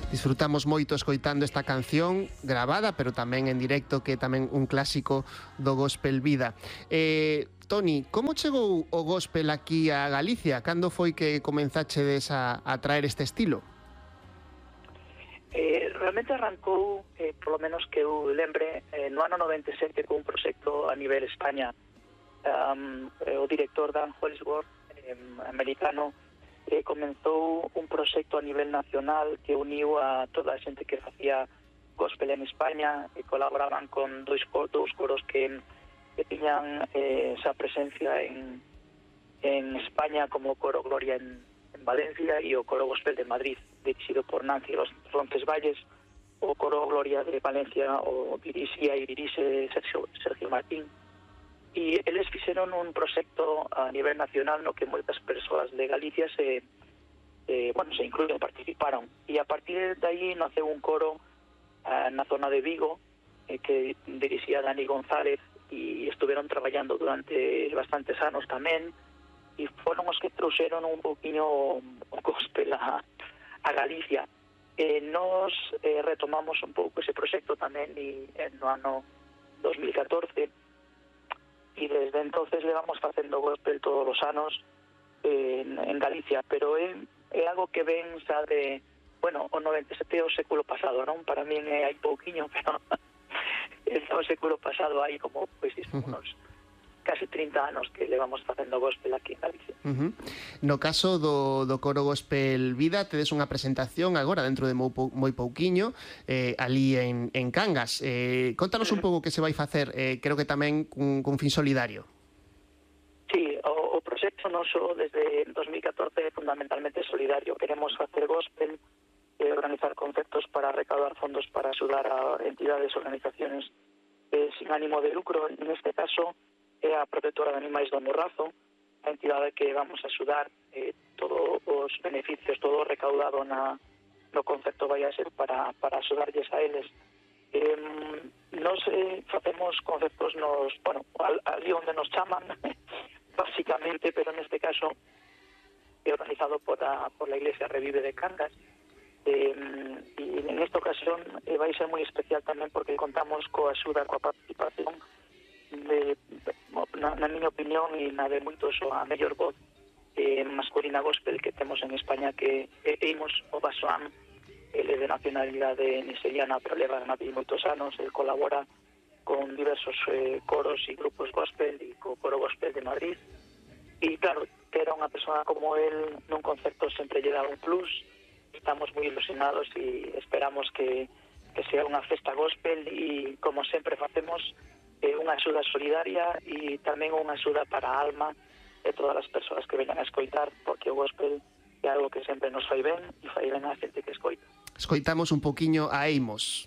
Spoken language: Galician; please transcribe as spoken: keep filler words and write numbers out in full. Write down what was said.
Disfrutamos moito escoitando esta canción gravada, pero tamén en directo, que é tamén un clásico do gospel vida. Eh, Toni, como chegou o gospel aquí a Galicia? Cando foi que comenzachedes a, a traer este estilo? Eh, realmente arrancou, eh, polo menos que eu lembre, eh, no ano noventa e sete con un proxecto a nivel España. Um, eh, o director Dan Holdsworth, eh, americano, eh, comenzou un proxecto a nivel nacional que uniu a toda a xente que facía gospel en España e colaboraban con dois, dous coros que, que tiñan eh, esa presencia en, en España, como o Coro Gloria en, en Valencia e o Coro Gospel de Madrid, dirixido por Nancy Roncesvalles. O Coro Gloria de Valencia o dirixía e dirixe Sergio, Sergio Martín. E eles fixeron un proxecto a nivel nacional no que moitas persoas de Galicia se, eh, bueno, se incluyen, participaron. E a partir de aí naceu un coro eh, na zona de Vigo, eh, que dirixía Dani González, e estuveron traballando durante bastantes anos tamén, e foron os que trouxeron un poquinho o gospel a, a Galicia. Eh, nos eh, retomamos un pouco ese proxecto tamén e, eh, no ano dos mil catorce, e desde entonces le vamos facendo gospel todos os anos eh, en, en Galicia, pero é, é algo que ven xa de, bueno, o noventa e sete é o século pasado, non? Para min é hai pouquiño, pero é o século pasado, hai como, pois, pues, unos casi trinta anos que levamos facendo gospel aquí en Galicia. Uh-huh. No caso do, do Coro Gospel Vida, tedes unha presentación agora dentro de moi, moi pouquiño eh, ali en, en Cangas. Eh, contanos un pouco que se vai facer, eh, creo que tamén cun, cun fin solidario. Sí, o, o proxecto noso desde dos mil catorce é fundamentalmente solidario. Queremos facer gospel e eh, organizar conceptos para recaudar fondos para axudar a entidades e organizaciones eh, sin ánimo de lucro. En este caso é a Protectora de Animais do Morrazo, a entidade que vamos a axudar. Eh, todos os beneficios, todo o recaudado na, no concepto vai a ser para, para axudarlles a eles. Eh, nos eh, facemos conceptos nos, bueno, ali onde nos chaman, básicamente, pero neste caso é organizado por a, por la Iglesia Revive de Cangas. Eh, e en esta ocasión eh, vai ser moi especial tamén porque contamos coa axuda, coa participación de, na, na miña opinión e na de moitos, a mellor voz eh, masculina gospel que temos en España, que é Imos o Basoán. Ele de nacionalidade nigeriana, pero leva na moitos anos. Ele colabora con diversos eh, coros e grupos gospel e co Coro Gospel de Madrid, e claro, ter a unha persona como el nun concerto sempre lle dá un plus. Estamos moi ilusionados e esperamos que, que sea unha festa gospel, e como sempre facemos, eh, unha axuda solidaria e tamén unha axuda para a alma de todas as persoas que veñan a escoitar, porque o gospel é algo que sempre nos fai ben e fai ben a xente que escoita. Escoitamos un poquiño a Eimos.